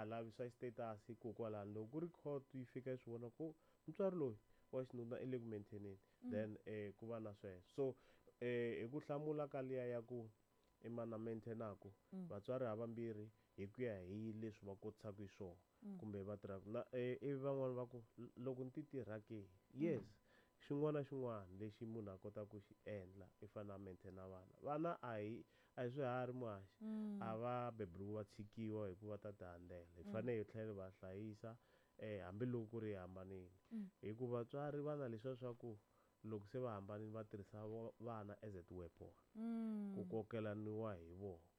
Lavi swa status hikokwalano loko ku ri court yi fika yi swi vona ku mutswari loyi wa xinuna i le ku maintaineni, then ku va na sweswo. So hi ku hlamula ka liya ya ku i mani a maintainaku, vatswari havambirhi hi ku ya hi leswi va kotisaka hi swona kumbe va tirhaka na ivi van'wani va ku loko ni ti tirha ke. Yes, xin'wana na xin'wana lexi munhu a kotaka ku xi endla i fanele a maintaina vana. Vana a hi swiharhi, muhaxi, a va beburiwi va tshikiwa hikuva ta ti handzela. Hi fanele hi tlhela hi va hlayisa hambiloko ku ri hi hambanile, hikuva vatswari va na leswiya swa ku loko se va hambanile va tirhisa vana as a ti-weapon ku kokelaniwa hi vona.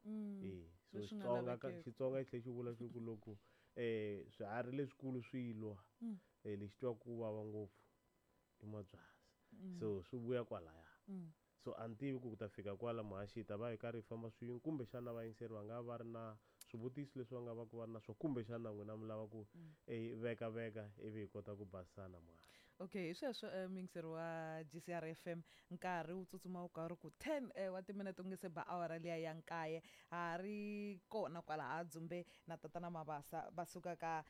E so Leswi nga Xitsonga ka lavekeki. Xitsonga xi tlhela xi vula xi ku loko swiharhi leswikulu swi lwa, lexi twaku ku vava ngopfu i mabyasi. So swi vuya kwalaya. So a ni tivi ku ta fika kwala, muhaxi, hi ta va hi karhi hi famba swin'we, kumbexana vayingiseri va nga va ri na swivutiso leswi va nga va ku va ri na swona, kumbexana n'wina mi lava ku veka veka ivi hi kota ku basisana, muhaxi. Okay, hi sweswo, muyingiseri wa GCR FM, nkarhi wu tsutsuma wu karhi ku 10 wa timinete u nge se ba awara liya ya 9. Ha ri kona kwala ha dzumbe na Tatana Mabasa va suka ka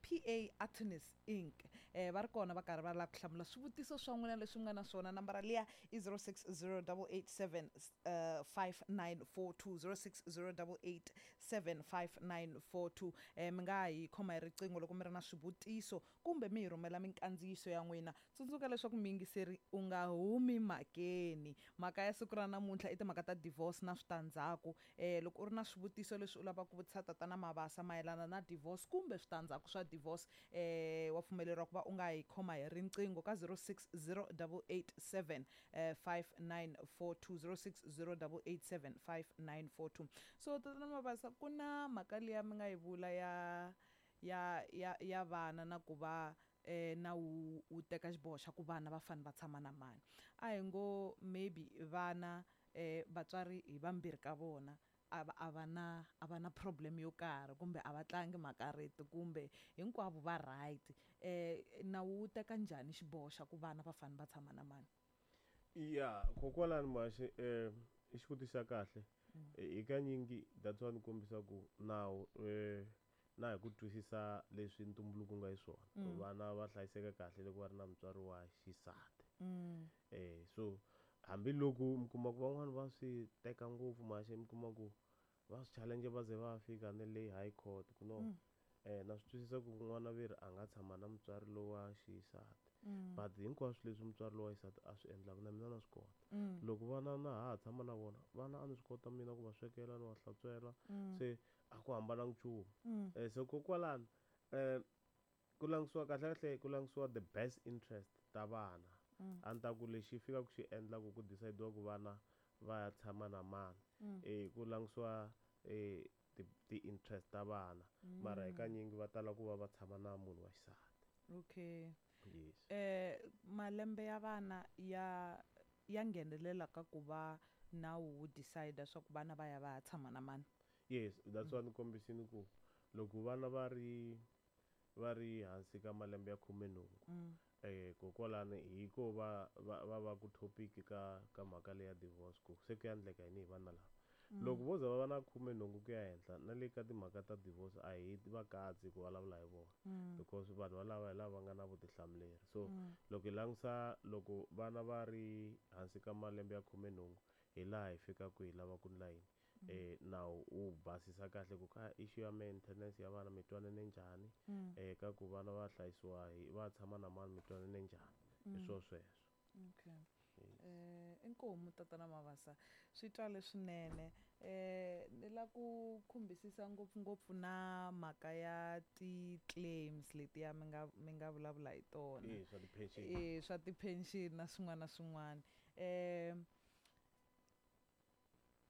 PA Attorneys Inc. Va ri kona va karhi va lava ku hlamula swivutiso swa n'wina leswi mi nga na swona. Nambara liya i 060 887 5942, 060 887 5942. Mi nga hi khoma hi riqingho loko mi ri na swivutiso kumbe mi hi rhumela minkandziyiso ya n'wina. Tsundzuka leswaku muyingiseri u nga humi mhakeni. Mhaka ya siku ra namuntlha i timhaka ta divorce na switandzhaku. Loko u ri na swivutiso leswi u lavaka ku vutisa Tatana Mabasa mayelana na divorce kumbe switandzhaku swa divorce, wa pfumeleriwa ku va u nga hi khoma hi riqingho ka 060 887 5942, 060 887 5942. So Tatana Mabasa, ku na mhaka liya mi nga yi vula ya vana na ku va na wu teka xiboho xa ku vana va fanele va tshama na mani. A hi ngo maybe vana, vatswari hi vambirhi ka vona a va na problem yo karhi kumbe a va tlangi makariti kumbe hinkwavo va right, nawu wu teka njhani xiboho xa ku vana va fanele va tshama na mani? Ya, kokwalani muhaxi, i xivutiso xa kahle. Hi kanyingi that's why ni kombisa ku nawu na hi ku twisisa leswi ntumbuluko nga xiswona, vana va hlayiseka kahle loko va ri na mutswari wa xisati. So hambiloko mi kuma ku van'wani va swi teka ngopfu, muhaxi, mi kuma ku va swi challenge va ze va fika na le high court ku no na swi twisisa ku n'wana veri a nga tshama na mutswari lowa xisati, but hinkwaswo leswi mutswari lowa xisati a swi endlaka na mina na swi kota. Loko vana na ha tshama na vona vana, a ni swi kota mina ku va swekela, ni va hlantswela, se a ku hambananga nchumu. So kokwalano ku langisiwa kahle kahle, ku langisiwa the best interest ta vana. A ni ta ku lexi fikaka xi endla ku decide-iwa ku vana va ya tshama na mani, ku langisiwa ti-interest ta vana, mara hi kanyingi va tala ku va va tshama na munhu wa xisati. Yes. Malembe ya vana ya nghenelela ka ku va nawu wu decide swa ku vana va ya va ya tshama na mani? Yes, that's why ni kombisini ku loko vana va ri hansi ka malembe ya 18, kokwalani hi ko va ku topic ka mhaka leya divorce, ku se ku ya endleka yini hi vana lava. Loko vo za va va na 18 ku ya henhla, na le ka timhaka ta divorce a hi va katsi ku vulavula hi vona, because vanhu valava hi lava va nga na vutihlamuleri. So loko hi langutisa loko vana va ri hansi ka malembe ya 18, hi laha hi fikaka hi lava ku ndla yini, nawu wu basisa kahle ku ka issue ya maintenance ya vana mi twanane njhani, ka ku vana va hlayisiwa hi va tshama na mani mi twanane njhani, hi swo sweswo. Okay. Inkomu Tatana Mabasa, swi twale swinene. Ni la ku khumbisisa ngopfungopfu na mhaka ya ti-claims letiya mi nga vulavula hi tona. Eh, swa ti-pension. Swa ti-pension na swin'wana na swin'wana.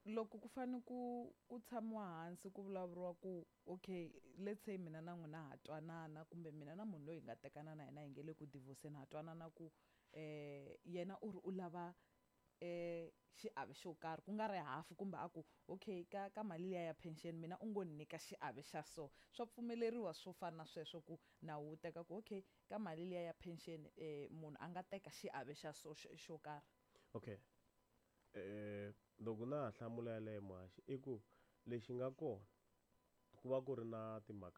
Loko ku fane ku tshamiwa hansi ku vulavuriwa ku okay, let's say mina na n'wina ha twanana, kumbe mina na munhu loyi hi nga tekana na yena hi nge le ku divorceni, ha twanana ku yena u ri u lava xiave xo karhi, ku nga ri hafu, kumbe a ku okay, ka mali liya ya pension mina u ngo ni nyika xiave xa so, swa pfumeleriwa swo fana na sweswo ku nawu wu teka ku okay, ka mali liya ya pension munhu a nga teka xiave xa so xo karhi? Okay, loko na ha hlamula yaleyo, muhaxi, i ku lexi nga kona Ku va ku ri na timhaka